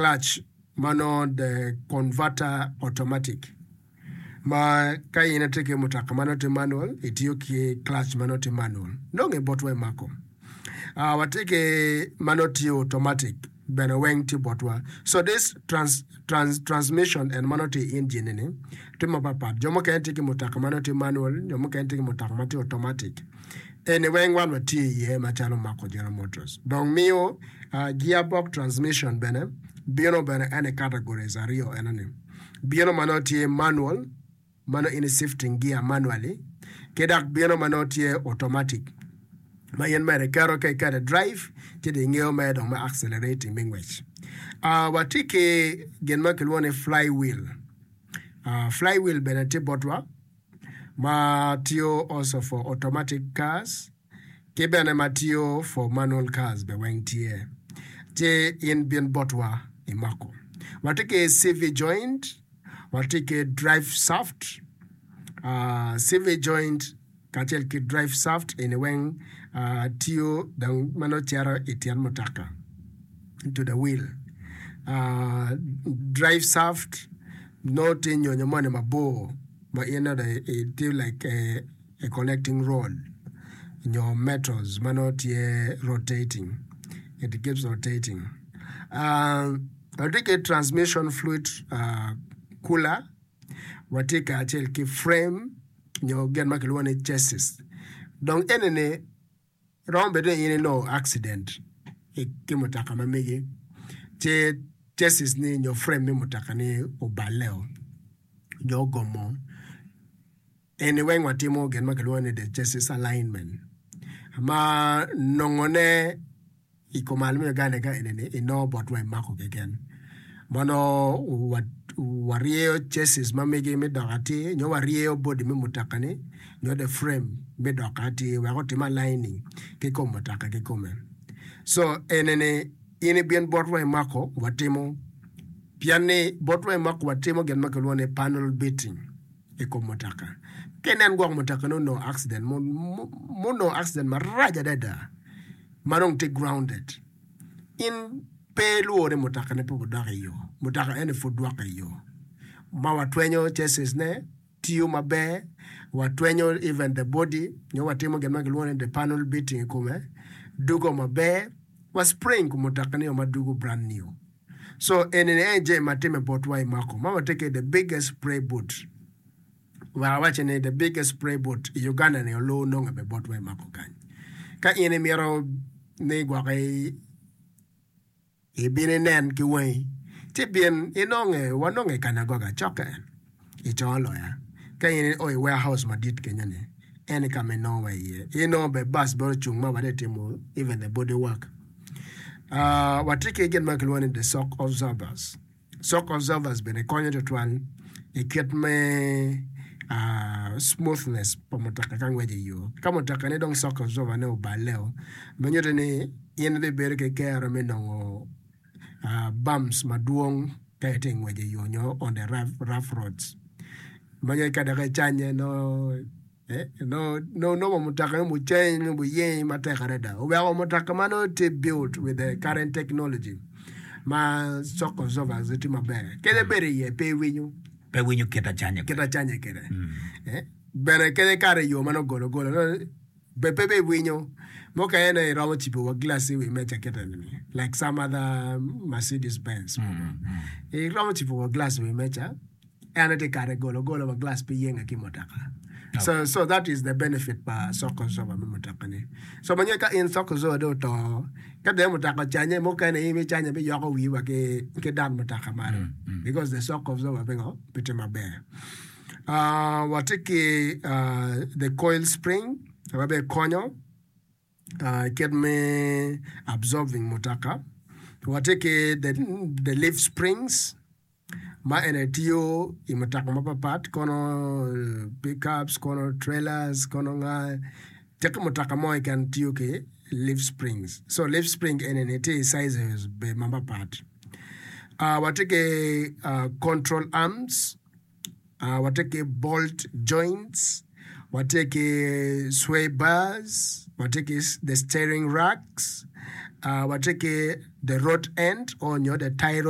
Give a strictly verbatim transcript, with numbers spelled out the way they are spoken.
Clutch ma nongo the converter automatic ma ka in itye ki mutoka ma nongo tye manual itiyo ki clutch ma nongo tye manual nonge botwa i mako. Uh, watye ki ma nongo tye automatic bene weng tye botwa. So this trans, trans, transmission en ma nongo tye i engine ni tye mapat jo mukene tye ki mutoka ma nongo tye manual jo mukene tye ki mutoka ma tye automatic eni weng wan watye iye macalo Mako General Motors dong miyo uh, gearbox transmission bene bino bene en i categories aryo enoni bino ma nongo tye manual ma nongo in shifting gear manually ki dok bino ma nongo tye automatic ma in mere iketo ka iketo drive ci dong ingeyo mere dong me accelerating me ngwec. Uh, watye ki gin ma kilwongo ni flywheel. Uh, flywheel bene tye botwa ma tiyo also for automatic cars ki bene ma tiyo for manual cars be weng tye ci in bin botwa i mako. Watye ki C V joint, watye ki drive shaft, uh, C V joint kacel ki drive shaft eni weng uh, tiyo dong ma nongo cito i tyen mutoka to the wheel. Uh, drive shaft nongo tye nyonyo moni mabor ma in nongo tye like a, a connecting rod nyo metals ma nongo tye rotating, it keeps rotating. Uh, watye ki transmission fluid uh, cooler, watye kacel ki frame nyo gin ma kilwongo ni chassis. Dong enini romo bedo ni in inongo accident ki mutoka ma megi ci chassis ni nyo frame me mutoka ni oballe nyo ogomo eni weng watimo gin ma kilwongo ni the chassis alignment ma nongone i kom me Uganda ka enini inongo botwa i mako keken ma nongo waryeyo chassis ma megi me dok atir nyo waryeyo body me mutoka ni nyo the frame me dok atir wek otim aligning ki kom mutoka kikome. So enini in ibin botwa i mako watimo pien ni botwa i mako watimo gin ma kilwongo ni panel beating i kom mutoka. Ka inen gwok mutoka ni onongo accident munongo accident marac adada ma dong tye grounded in pe ilwor ni mutoka ni pe obidok i yo mutoka eni pud dwoko i yo ma watwenyo chassis ne tiyo maber watwenyo even the body nyo watimo gin ma kilwongo ni the panel beating i kome dugo maber wa spring kom mutoka ni ma dugo brand new. So enini en jami ma time botwa i mako ma watye ki the biggest spray booth wek awaci ni the biggest spray booth i Uganda ni olu nonge be botwa i mako kany. Ka in imito ni gwoki ibin inen ki wangi ci bin inonge wanonge i Kanagoga cokke i Congo Loya ka in io i warehouse madit kenyo ni en ka ma inongo wa iye inongo be bus bene ocung ma watye timo even the body work. Uh, watye ki gin ma kilwongo ni the shock absorbers. Shock absorbers bene konyo tutwal i kit me uh, smoothness pa mutoka ka ngweco i yo. Ka mutoka ni dong shock absorber ne oballe ma nyuto ni in ibibedo ki kero me nongo uh, bumps madwong ka itye ngweco i yo nyo on the rough, rough roads ma nyo ka dok icanye no eh, no no nongo mutoka ni muceny muyeny matek adada oweko mutoka ma nongo tye built with the current technology ma shock absorbers tye maber kede bedo iye pe iwinyo pe winyo kit acanya kit acanya kede eh, bene kede kare yo ma nongo golo golo no, be pe be iwinyo mukene iromo cibo wa glass i wi meja kite ni like some other Mercedes Benz iromo cibo wa glass i wi meja en tye kare golo golo wa glass pe yenge ki mutoka. So, so that is the benefit pa shock absorber me mutoka ni. So manyo ka in shock absorber do to ka de mutoka canye mukene in icanye bi yoko wi wa ki ki dan mutoka malo because the shock absorber bingo pe tye maber. Uh, watye ki uh, the coil spring ma be konyo uh, kit me absorbing mutoka. Watye ki the, the leaf springs ma ene tiyo i mutoka mapapat kono eh, pickups kono trailers kono nga teki mutoka mo keken tiyo ki leaf springs. So leaf spring ene ni tye i sizes be mapapat. Uh, watye ki uh, control arms, uh, watye ki bolt joints, watye ki sway bars, watye ki the steering racks, uh, watye ki the rod end or nyo the tie rod.